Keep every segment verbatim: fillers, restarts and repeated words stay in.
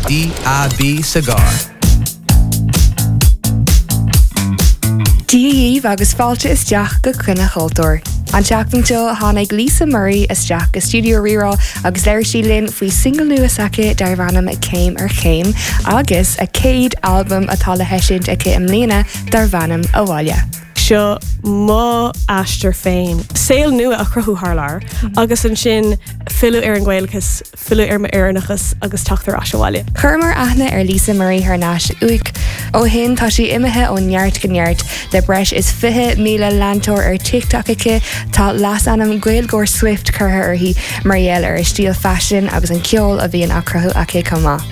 D A B sa gcarr. Dia dhaoibh agus fáilte isteach go Coinne Chultúir. An tseachtain seo, tháinig Lisa Murray isteach go stiúideo Rí-Rá agus labhair sí linn faoi single nua s'aici darb ainm Céim ar Chéim agus a céad albam atá le heisiúint aici i mbliana darb ainm Abhaile. Seo mo aistear féin. Saol nua a chruthú thar lear agus ansin filleadh ar an nGaelachas, filleadh ar m'Éireannachas agus teacht ar ais abhaile. Chuireamar aithne ar Lisa Murray thar n-ais uaidh. Ó shin, tá sí imithe ó neart go neart le breis is fiche míle leantóir ar TikTok aici. Tá leasainm Gaeilgeoir Swift curtha uirthi mar gheall ar a stíl faisin agus an ceol a bhíonn á chruthú aici chomh maith.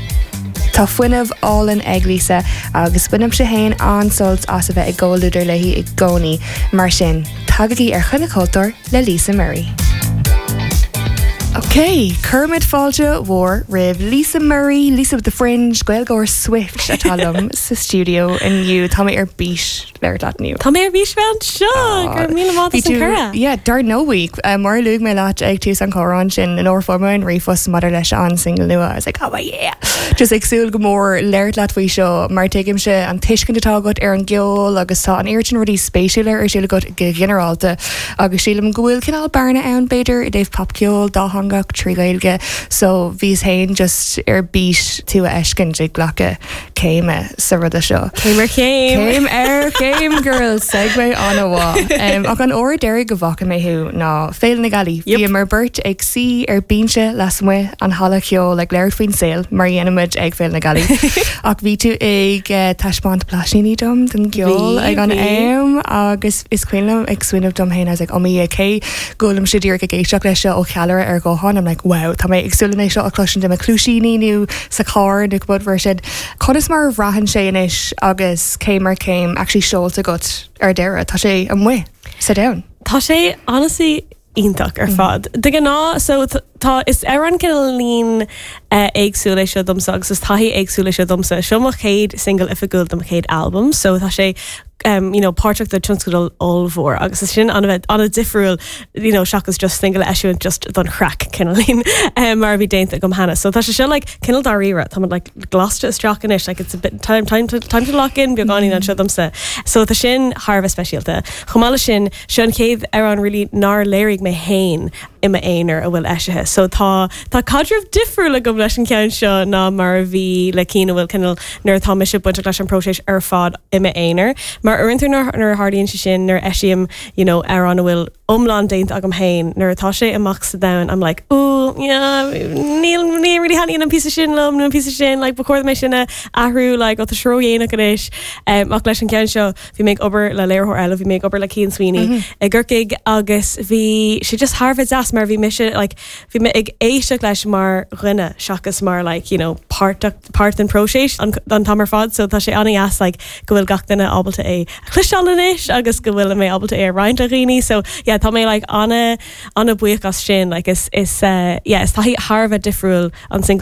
Tá fuinneamh álainn ag Lisa agus bainimse féin an-sult as a bheith i gcomhluadar léi i gcónaí. Mar sin, tagaigí ar Choinne Chultúir le Lisa Murray. Ok, cuirimid fáilte mhór roimh Lisa Murray, Lisa with the Fringe, Gaeilgeoir Swift atá liom sa stiúideo inniu. Tá mé ar bís labhairt leat inniu. Tá mé ar bís bheith anseo. Gur míle maith as an cuireadh. Yeah, dar ndóigh, mar a luaigh mé leat ag tús an chomhrá sin, nuair a fuair mé an ríomhphost maidir leis an single nua. I was like, "Oh yeah." Just ag súil go mór labhairt leat faoi seo mar tuigimse an tuiscint atá agat ar an gceol agus tá an oiread sin rudaí spéisiúla ar siúl agat go ginearálta agus sílim go bhfuil cineál bearna ann, b'fhéidir, i dtaobh popcheol dátheangach trí Ghaeilge, so bhíos féin just ar bís tú a fheiscint ag glacadh céime sa ruda seo. Céim ar chéim. Céim ar chéim, girl, segue an-mhaith. Um, ach an uair deiridh go bhfaca mé thú ná Féile na Gealaí. Yep. Bhíomar beirt ag suí ar binse lasmuigh an halla ceoil ag labhairt faoin saol mar a dhéanaimid ag Féile na Gealaí. Ach bhí tú ag uh, taispeáint blaisíní dom den gceol Bhí, ag an bhí. am agus is cuimhin liom ag smaoineamh dom féin, I was like, "Oh my, cé go bhfuilimse díreach ag éisteacht leis seo ó cheallaire ar ghuthán," I'm like, "Wow, tá mé ag súil é seo a chloisint i mo chluaisíní nó sa charr nó cibé rud sin." Conas mar a bhraitheann sé anois agus Céim ar Chéim actually seolta agat ar deireadh? Tá sé amuigh sa domhan. Tá sé honestly iontach ar fad. De ghnáth, so t- tá is ar an cineál uh, éagsúil é seo domsa agus is taithí éagsúil é seo domsa. Seo mo chéad single oifigiúil do mo chéad album, so tá sé um, you know, páirteach de tionscadal ollmhór agus is sin an-bheith an-difriúil you know, seachas just single eisiúint just don chraic cineálín um, mar a bhí déanta agam cheana. So tá sé seo like, cineál dáiríre, tá like, glasta isteach anois, like, it's a bit time, time, to, time to lock in beagáinín anseo domsa. So tá sin thar a bheith speisialta. Chomh maith leis sin, seo an chéad amhrán really nár léirigh mé féin i m'aonar a bhfuil eisithe. So tá tá caidreamh difriúil agam leis an ceann seo ná mar a bhí le cinn a bhfuil cineál nuair atá mise bainteach leis an próiseas ar fad i m'aonar. Mar uaireanta nuair nuair a tharlaíonn sé sin, nuair eisím you know, amhrán a bhfuil iomlán déanta agam féin, nuair atá sé amach sa domhan, I'm like, "Ooh, yeah, níl ní really thaitníonn an píosa sin liom nó an píosa sin, like, ba chóir mé sin a athrú, like, ó tá sé ródhéanach anois." Um, ach leis an ceann seo, bhí mé ag obair le léiritheoir eile, bhí mé ag obair le Cian Sweeney mm -hmm. i gCorcaigh agus bhí sé just thar a bheith deas mar bhí mise like, bhí mé ag éisteacht leis mar dhuine seachas mar like, you know, páirt páirt den próiseas an, an t-am ar fad, so tá sé an-deas like, go bhfuil gach duine ábalta é a chloisteáil anois agus go bhfuil mé ábalta é a roinnt le dhaoine, so yeah, tá mé like, an- an-bhuíoch as sin, like, is, is, uh, yeah, is taithí thar a bheith difriúil an single.